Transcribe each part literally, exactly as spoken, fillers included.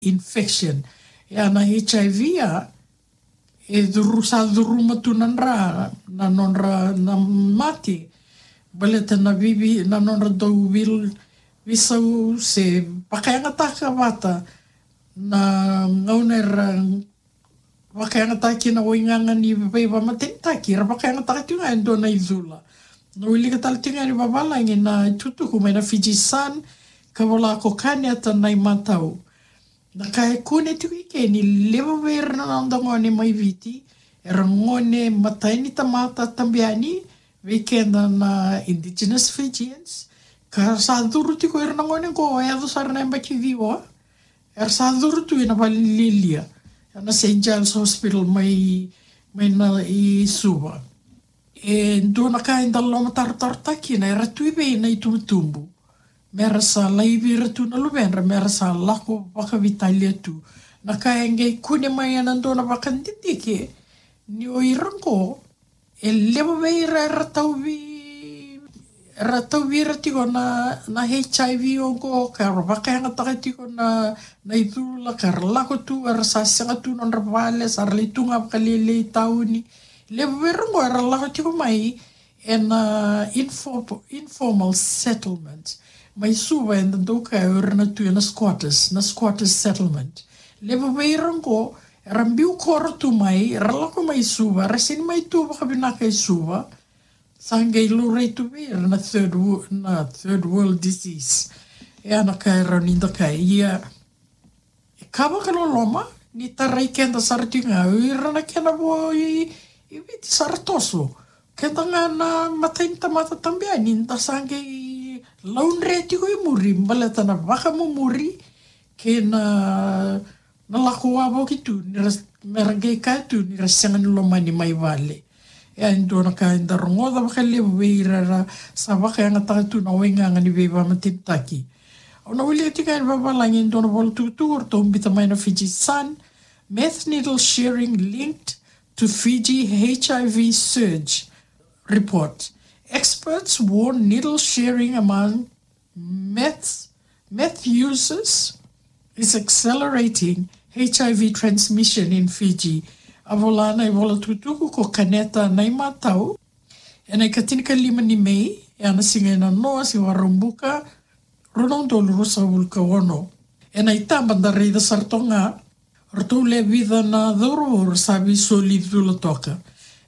infection. Ia na H I V ia, e curu, sa curuma tu na dra, na nodra na mate, baleta na vivi, na nodra dau vil, visau se vakayagataka vata na gauna era vakayagataki na waigaga ni veivamatenitaki, era vakayagataka tiko ga e dua na icula. Na wilika tale tiko ga ni vavalagi na itukutuku mai na Fiji Sun, ka vola ko Kaneta Naimatau. Na ka e kune tiko i ke ni levu vei ira na noda gone mai Viti, era gone matai ni tamata tabu yani, vei keda na Indigenous Fijians, ka sa curu tiko ira na gone qo, e yaco sara na yabaki ciwa, era sa curu tu ina valilialia, na Saint Giles Hospital mai, mai na i Suva. E dua na ka eda lomatarotarotaki kina, era tu i vei na itubutubu, mera sa laivi ira tu na luvedra, mera sa lako vakavitalia tu. Na ka e qai kune mai ena dua na vakadidike, ni o ira qo, e levu vei ira era tauvi, era tauvi ira tiko na, na H I V oqo, ka ra vakayagataka tiko na, na icula, ka ra lako tu, era sa sega tu nodra vale, sa ra lai tu ga vakalelei tauni. Levu vei ira qo era lako tiko mai ena info-, informal settlement. Mai Suva eda dau kaya o ira na tu ena squatters, na squatters settlement. Levu vei ira qo, era biu koro tu mai, era lako mai Suva, era sega ni mai tu vakavinaka i Suva. Sa qai laurai tu vei ira na third wo-, na third world disease. E a na ka e rawa ni da kaya. Ia, e ka vakaloloma, ni tarai keda sara tiko ga, o ira na kena vo i, i Viti sa ra toso. Keda ga na matai ni tamata tabu yani, da sa qai laudre tiko i muri, baleta na vakamumuri, kei na, na lako wavoki tu, ni ra, mera qai kaya tu, ni ra sega ni lomani mai vale. E a dua na ka eda rogoca vakalevu vei ira era sa vakayagataka tu na waigaga ni veivamatenitaki. Au na wilika tiko ga e vavalagi e dua na vola tukutuku, ratou biuta mai na Fiji Sun, meth needle sharing linked to Fiji H I V surge report. Experts warn needle sharing among meth, meth users is accelerating H I V transmission in Fiji. A vola na ivola tukutuku ko Kaneta Naimatau, ena ikatinikalima ni May, e a na siga ena noa, siga Vakaraubuka, rua na udolu ruasagavulu ka ono. Ena itaba da raica sara toka ga, ratou lewe vica na cauravou sa veisoli cula toka.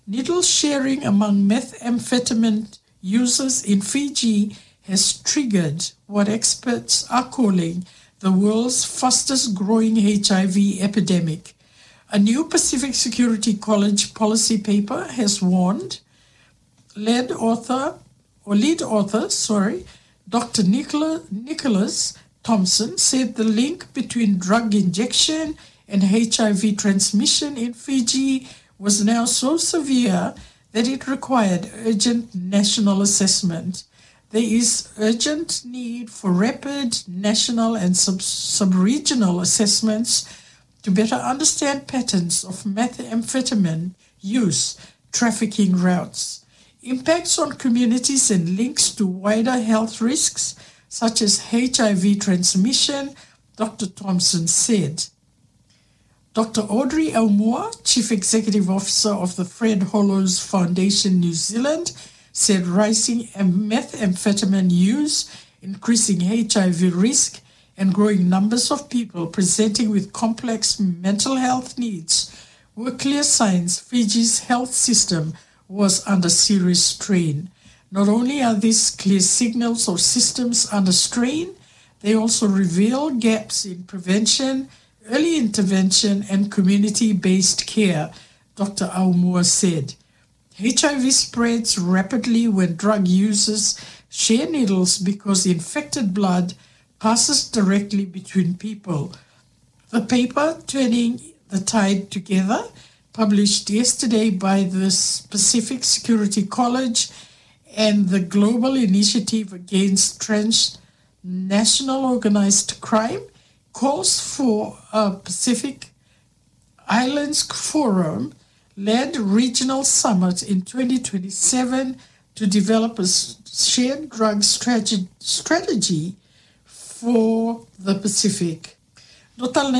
Needle sharing among methamphetamine users in Fiji has triggered what experts are calling the world's fastest growing H I V epidemic. A new Pacific Security College policy paper has warned, led author, or lead author, sorry, Doctor Nicola-, Nicholas Thompson said the link between drug injection and H I V transmission in Fiji was now so severe that it required urgent national assessment. There is urgent need for rapid national and sub-, sub-regional assessments to better understand patterns of methamphetamine use, trafficking routes, impacts on communities and links to wider health risks such as H I V transmission, Doctor Thompson said. Doctor Audrey Aumua, Chief Executive Officer of the Fred Hollows Foundation New Zealand, said rising em-, methamphetamine use, increasing H I V risk, and growing numbers of people presenting with complex mental health needs were clear signs Fiji's health system was under serious strain. Not only are these clear signals of systems under strain, they also reveal gaps in prevention, early intervention, and community-based care, Doctor Aumua said. H I V spreads rapidly when drug users share needles because infected blood passes directly between people. The paper, Turning the Tide Together, published yesterday by the S-, Pacific Security College and the Global Initiative Against Transnational Organized Crime, calls for a Pacific Islands Forum-led regional summit in twenty twenty-seven to develop a s-, shared drug strate-, strategy for the Pacific. Dua tale na